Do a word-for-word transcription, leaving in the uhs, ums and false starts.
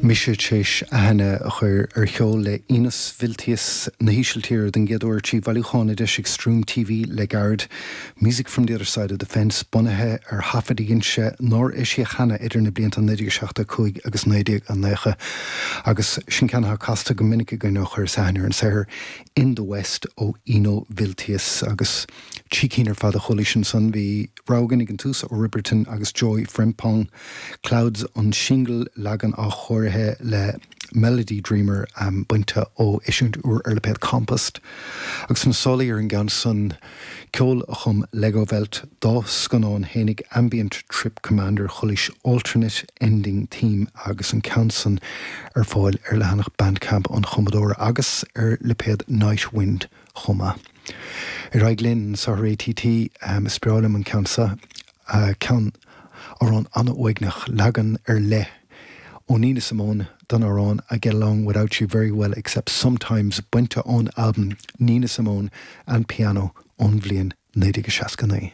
Mise théis aithne a chur ar cheol le Inus Viltijs na hÍsiltíre den gcéad uair trí bhailiúchán a d'eisigh Stream TV le gairid, Music from the Other Side of the Fence bunaithe ar thaifid a dhein sé nár eisíodh cheana idir na blianta naoi déag seachtó cúig agus naoi déag nócha agus sin ceann atá casta go minic againn ó chuireas aithne ar an saothar In the West ó Ino Viltijs agus trí cinn ar fad a chuala ansan bhí rogha againn ag an tús ó Riperton agus Joy Frempong, Clouds on Shingle leagan athchóirithe le Melody Dreamer um, bainte ó eisiúint úr ar lipéad Compost. Agus na sálaí ar an gceann san ceol a chum Legowelt dá scannán fhéinig Ambient Trip Commander chualaís Alternate Ending Theme agus an ceann san ar fáil ar leathanach Bandcamp an chumadóra agus ar lipéad Nightwind chomh maith. Ar aghaidh linn sa ATT um, is breá liom an ceann seo uh, ceann amhrán an-uaigneach leagan ar leith ó Nina Simone don amhrán I get along without you very well except sometimes bainte ón album Nina Simone and piano ón bhliain naoi déag seasca naoi.